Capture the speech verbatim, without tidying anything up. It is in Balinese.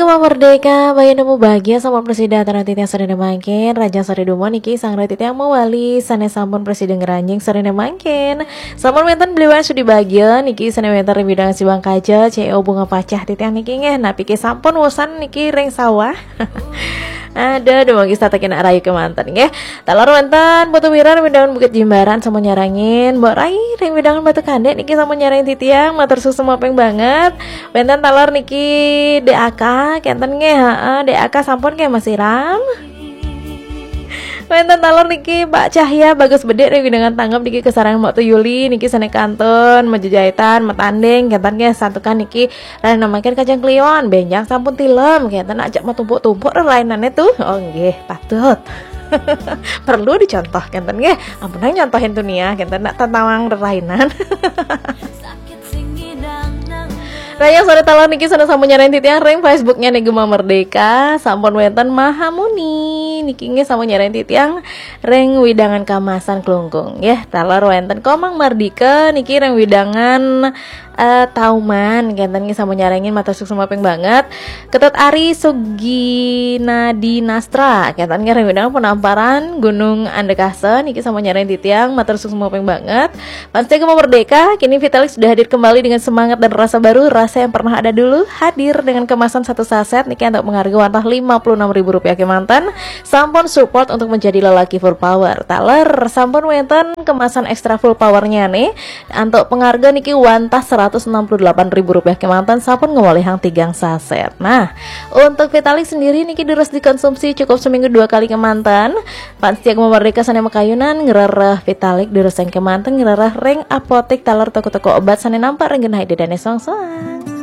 Merdeka, bayi nemu bahagia sampun presida atur titiang sareng mangkin, raja sore dumun niki sang titiang mawali sané sampun presida ngranjing sareng mangkin. Sampun wénten beliwang sudi bahagia niki sané wénten ring bidang Siwang Kaja, C E O Bunga Pacah titiang niki nggih. Napi ké sampun wusan niki ring sawah. Aduh, dumun kita kena rayu kemanten nggih. Taler wénten Putu Wiran ring wewidangan Bukit Jimbaran sampun nyarengin, Mbok Rai ring wewidangan Batu Kandé niki sampun nyarengin titiang, matur suksma ping banget. Wénten taler niki D A K, kénten nggih, heeh, D A K sampun nggih Mas Iram. Wénten taler niki Mbak Cahya Bagus Bedik ring wewidangan Tanggep niki kasarengin Mbok Tuyuli niki sané kantun, majejahitan, matanding, kénten nggih santukan niki Rena mangkin Kajeng Kliwon, bénjang sampun tilem, kénten ajak matumpuk-tumpuk rerainané tuh. Oh nggih, patut. Perlu dicontoh kénten nggih. Ampun nyontohin tuh nia, kénten nak tentang rerainan. Raja sore taler niki sané sampun nyarengin titiang ring Facebooknya nih Gema Merdeka, sampun wénten Mahamuni niki nggih sampun nyarengin titiang ring wewidangan Kamasan Klungkung nggih. Taler wénten Komang Mardika niki ring wewidangan eh, Tauman, kénten nggih sampun nyarengin, matur suksma ping banget. Ketut Ari Suginadi Nastra, kénten nggih ring wewidangan Penamparan Gunung Andekasa niki sampun nyarengin titiang, matur suksma ping banget. Fans Gema Merdeka, kini Vitalik sudah hadir kembali dengan semangat dan rasa baru, rasa yang pernah ada dulu hadir dengan kemasan satu saset niki antuk pangharga wantah lima puluh enam ribu rupiah kémanten. Sampun support untuk menjadi lelaki full power. Taler sampun wénten kemasan ekstra full powernya nih. Antuk pangharga niki wantah seratus enam puluh delapan ribu rupiah kémanten sampun ngawalihang tigang saset. Nah, untuk Vitalik sendiri niki durus dikonsumsi cukup seminggu dua kali kémanten. Fans Gema Merdeka sané makayunan ngrereh Vitalik durus ring kémanten ngrereh ring apotik taler toko-toko obat sané nampak ring genah ida dané soang-soang.